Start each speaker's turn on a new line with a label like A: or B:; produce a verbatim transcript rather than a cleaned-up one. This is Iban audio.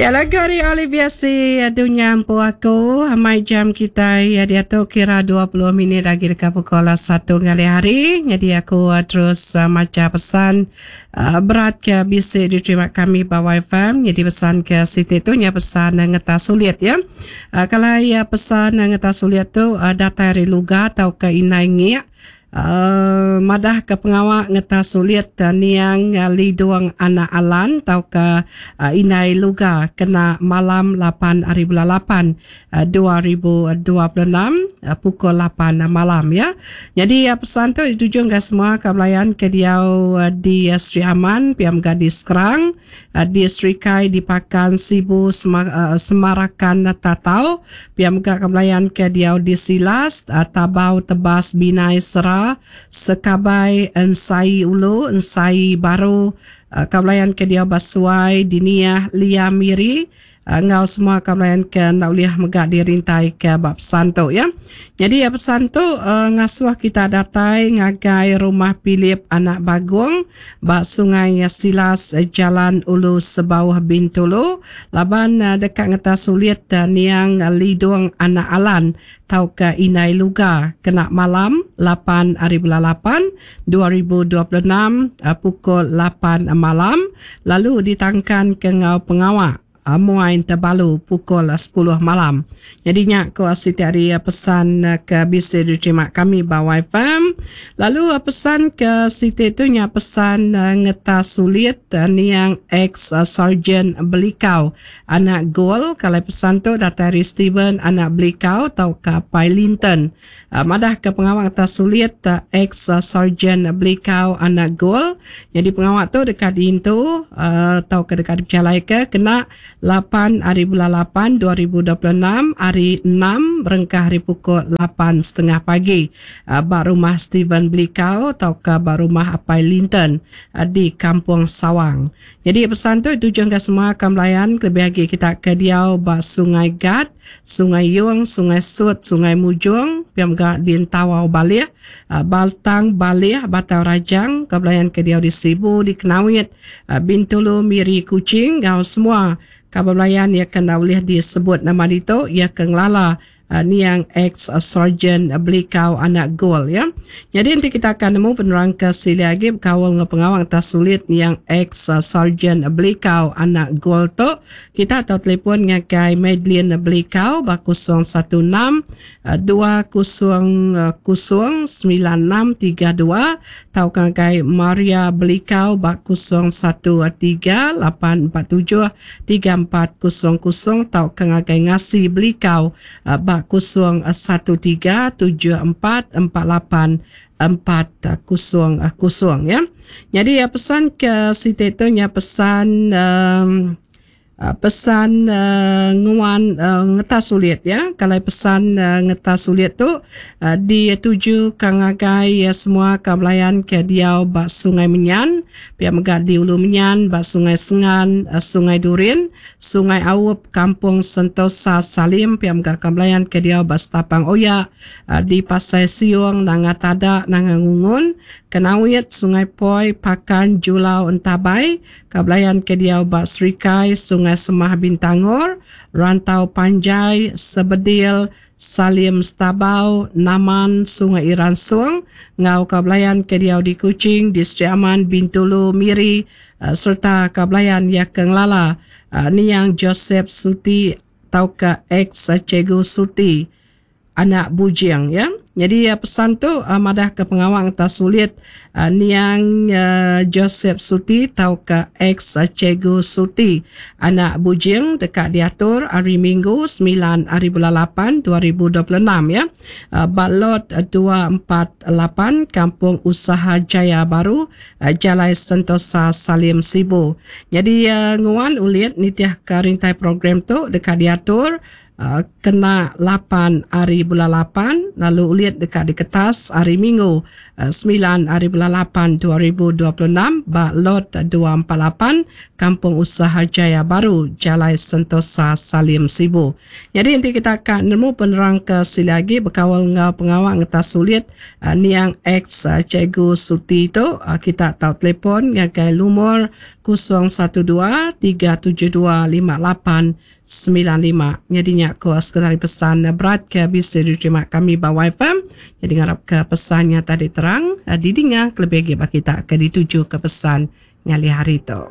A: Ya lagu ari Olivia Si Dunya Empu Aku. Amai jam kitai ya diatu kira dua puluh minit agi deka pukul satu ngalih hari. Jadi aku terus macha pesan berat ke bisi diterima kami ba Y F M. Jadi pesan ke siti tu nya pesan ngeta sulit ya. Kalau ya pesan ngeta sulit tu datai ari Luga tauka ke Inai Ngiak. Uh, madah ke pengawa ngeta sulit uh, niang uh, Lidung Anak Alan tau ke uh, Inai Luga kena malam lapan hari bulan lapan uh, dua ribu dua puluh enam uh, pukul lapan malam ya. Jadi uh, pesan tu dituju ke semua kebelayan ke diau uh, di uh, Sri Aman, P M Gadis Kerang, uh, di Sri Kai di Pakan Sibu Sema, uh, Semarakan Tatau, P M kebelayan ke diau di Silas, uh, Tabau Tebas Binai Sera Sekabai Ensai Ulu Ensai Baru, uh, kabelayan ke dia Basuai Diniah Lia Miri, uh, ngau semua kabelayan ke nak uliah megak dirintai ke bab pesan tu ya. Jadi ya pesan tu uh, ngasuh kita datai ngagai rumah Philip Anak Bagong bak Sungai Silas Jalan Ulu Sebawah Bintulu laban uh, dekat ngeta sulit uh, niang uh, Lidung Anak Alan tau ke Inai Luga kena malam lapan hari bulan lapan dua ribu dua puluh enam uh, pukul lapan malam lalu ditangkan ke ngau pengawak uh, muain terbalu pukul sepuluh malam. Jadi nyak ko siti hari pesan ke bisa diterima kami ba Y F M. Lalu pesan ke siti tu nya pesan ngeta sulit niang ex Sergeant Belikau anak Gol. Kalau pesan tu datai dari Steven anak Belikau tau ke Pai Linton. Madah ke pengawak ngeta sulit ex Sergeant Belikau anak Gol. Jadi pengawak tu dekat diintu tau ke dekat dipercalai ke kena lapan hari bulan lapan dua ribu dua puluh enam hari enam berengkah hari pukul lapan setengah pagi ba rumah Steven Belikau atau ke ba rumah Apai Linton di Kampung Sawang. Jadi pesan tu tujuan ke semua kambelayan lebih lagi kita ke diau ba Sungai Gat, Sungai Yung, Sungai Sut, Sungai Mujung, piam ga di Entawau Balih, Baltang Balih, Batang Rajang, kebelayan ke diau di Sibu, di Kenawit, Bintulu, Miri, Kuching, ngau semua kabelayan ia kena boleh disebut nama itu ia ke ngelala uh, niang ex Sergeant Belikau anak Gol ya. Jadi nanti kita akan nemu penerang ke sili lagi berkawal dengan pengawang atas sulit niang ex Sergeant Belikau anak Gol tu. Kita atau telefon ngagai Madeline Belikau ba kosong satu enam dua kosong kosong sembilan enam tiga dua atau ngagai Maria Belikau ba kosong satu tiga lapan empat tujuh tiga empat kosong kosong atau ngagai Ngasi Belikau ba kosong satu tiga tujuh empat empat lapan empat kosong kosong ya. Jadi ya pesan ke siti tu nya pesan um, pesan uh, nguan uh, ngeta sulit ya. Kalau pesan uh, ngeta sulit tu uh, dituju ke ngagai ya, semua kabelayan ke diau ba Sungai Menyan, pihak mega di Ulu Menyan, ba Sungai Sengan, uh, Sungai Durin, Sungai Aup, Kampung Sentosa Salim, pihak mega kabelayan ke diau ba Setapang Oya, uh, di Pasai Siung, Nanga Tada, Nanga Ngungun, Kenawit, Sungai Poi, Pakan, Julau, Entabai, kabelayan ke diau ba Serikai, Sungai Semah Bintangor, Rantau Panjai, Sebedil, Salim Stabau, Naman, Sungai Iran Suang, ngau kabelayan ke diau di Kuching, di Sri Aman, Bintulu, Miri, uh, serta kabelayan ya ke ngelala uh, niang Joseph Suti tauka ex Cikgu Suti anak Bujing ya. Jadi uh, pesan tu uh, madah ke pengawang atas sulit uh, niang uh, Joseph Suti tauka ex uh, Cikgu Suti anak Bujing dekat diatur hari Minggu sembilan hari bulan lapan dua ribu dua puluh enam ya. Uh, Balot dua empat lapan Kampung Usaha Jaya Baru, uh, Jalai Sentosa Salim Sibu. Jadi uh, nguan ulit nitiah ke rintai program tu dekat diatur Uh, kena lapan hari bulan lapan lalu ulit dekat di kertas hari Minggu uh, sembilan hari bulan lapan dua ribu dua puluh enam ba lot dua empat lapan Kampung Usaha Jaya Baru, Jalai Sentosa Salim Sibu. Nyadi enti kita ka nemu penerang ke silik agi bekaul enggau pengawa ngetas ulit niang ex Cikgu Suti tu, kita tau telefon ngagai lumur kosong satu dua tiga tujuh dua lima lapan semilan lima. Nyadi nya ko sekeda ari pesan berat ke bisi diterima kami ba Y F M. Nyadi ngarap ke pesan nya tadi terang didinga kelebih agi ba kita ke dituju ke pesan ngalih hari tu.